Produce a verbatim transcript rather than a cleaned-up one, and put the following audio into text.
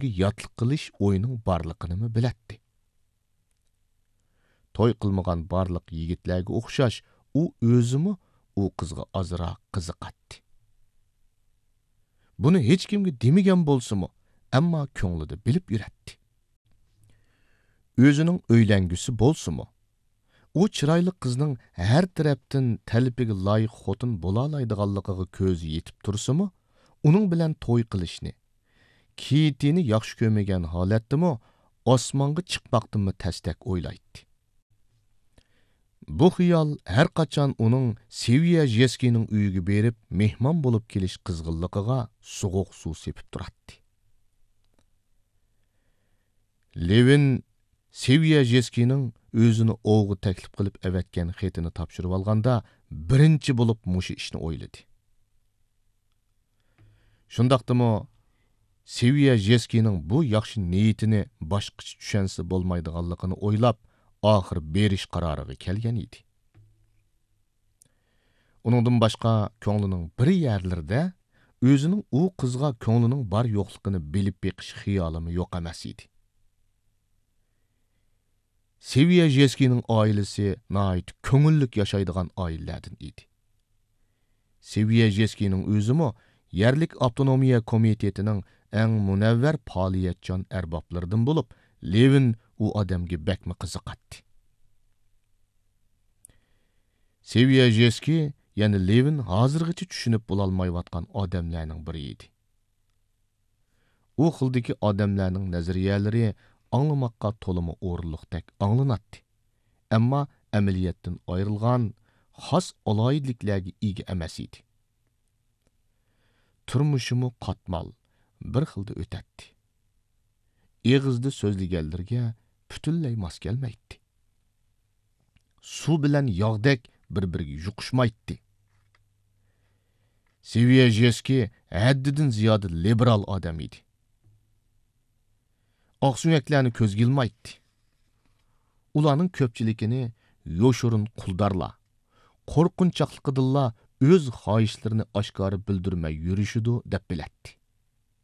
يۈرەككە ياتلىق قىلىش ئويىنىڭ بارلىقىنىمۇ بىلەتتى. توي قىلمىغان بارلىق يىگىتلەرگە ئوخشاش، ئۇ ئۆزىمۇ ئۇ قىزغا ئازراق قىزىقاتتى. بۇنى ھېچكىمگە دېمىگەن بولسىمۇ، ئەمما كۆڭلىدە بىلىپ يۈرەتتى. ئۆزىنىڭ ئۆيلەنگۈسى بولسىمۇ، ئۇ چىرايلىق قىزنىڭ ھەر تەرەپتىن تەلىپىگە لايىق خوتۇن بولالايدىغانلىقىغا كۆزى يېتىپ تۇرسىمۇ، ئۇنىڭ بىلەن توي قىلىشنى، كېيتىنى ياخشى كۆرمىگەن ھالەتتىمۇ ئاسمانغا چىقماقتىنمۇ تەستەك ئويلايتتى. بۇ خىيال ھەر قاچان ئۇنىڭ سېۋىيە ژېسكىنىڭ ئۆيىگە بېرىپ مېھمان بولۇپ كېلىش قىزغىنلىقىغا سوغۇق سۇ سېپىپ تۇراتتى. لېۋىن سېۋىيە ژېسكىنىڭ ئۆزىنى ئوۋغا تەكلىپ قىلىپ ئەۋەتكەن خېتىنى تاپشۇرۇۋالغاندا، بىرىنچى بولۇپ مۇشۇ ئىشنى ئويلىدى. شۇنداقتىمۇ سېۋىيە ژېسكىنىڭ بۇ ياخشى نىيىتىنى باشقىچە چۈشەنسە بولمايدىغانلىقىنى ئويلاپ، ئاخىر بېرىش قارارىغا كەلگەن ئىدى. ئۇنىڭدىن باشقا كۆڭلىنىڭ بىر يەرلىرىدە ئۆزىنىڭ ئۇ قىزغا كۆڭلىنىڭ بار يوقلۇقىنى بىلىپ بېقىش خىيالىمۇ يوق ئەمەس ئىدى. سېۋىيە ژېسكىنىڭ ئائىلىسى ناھايىتى كۆڭۈللۈك ياشايدىغان ئائىلىلەردىن ئىدى. سېۋىيە ژېسكىنىڭ ئۆزىمۇ يەرلىك ئاپتونومىيە كومىتېتىنىڭ ئەڭ مۇنەۋۋەر پائالىيەتچان ئەربابلىرىدىن بولۇپ، لېۋىن ئۇ ئادەمگە بەكمۇ قىزىقاتتى. سېۋىيە ژېسكى يەنە لېۋىن ھازىرغىچە چۈشىنىپ بولالمايۋاتقان ئادەملەرنىڭ بىرى ئىدى. ئۇ خىلدىكى ئادەملەرنىڭ نەزەرىيەلىرى ئاڭلىماققا تولىمۇ ئورۇنلۇقتەك ئاڭلىناتتى، ئەمما ئەمەلىيەتتىن ئايرىلغان، خاس ئالاھىدىلىكلەرگە ئىگە ئەمەس ئىدى. تۇرمۇشىمۇ قاتمال، بىر خىلدا ئۆتەتتى. ئېغىزدا سۆزلىگەنلىرىگە پۈتۈنلەي ماس كەلمەيتتى. سۇ بىلەن ياغدەك بىر-بىرىگە يۇقۇشمايتتى. سېۋىيە ژېسكى ھەددىدىن زىيادە لىبېرال ئادەم ئىدى. ئاقسۆڭەكلەرنى كۆزگە ئىلمايتتى. ئۇلارنىڭ كۆپچىلىكىنى يوشۇرۇن قۇلدارلار، قورقۇنچاقلىقىدىنلا ئۆز خاھىشلىرىنى ئاشكارا بىلدۈرمەي يۈرۈشىدۇ دەپ بىلەتتى.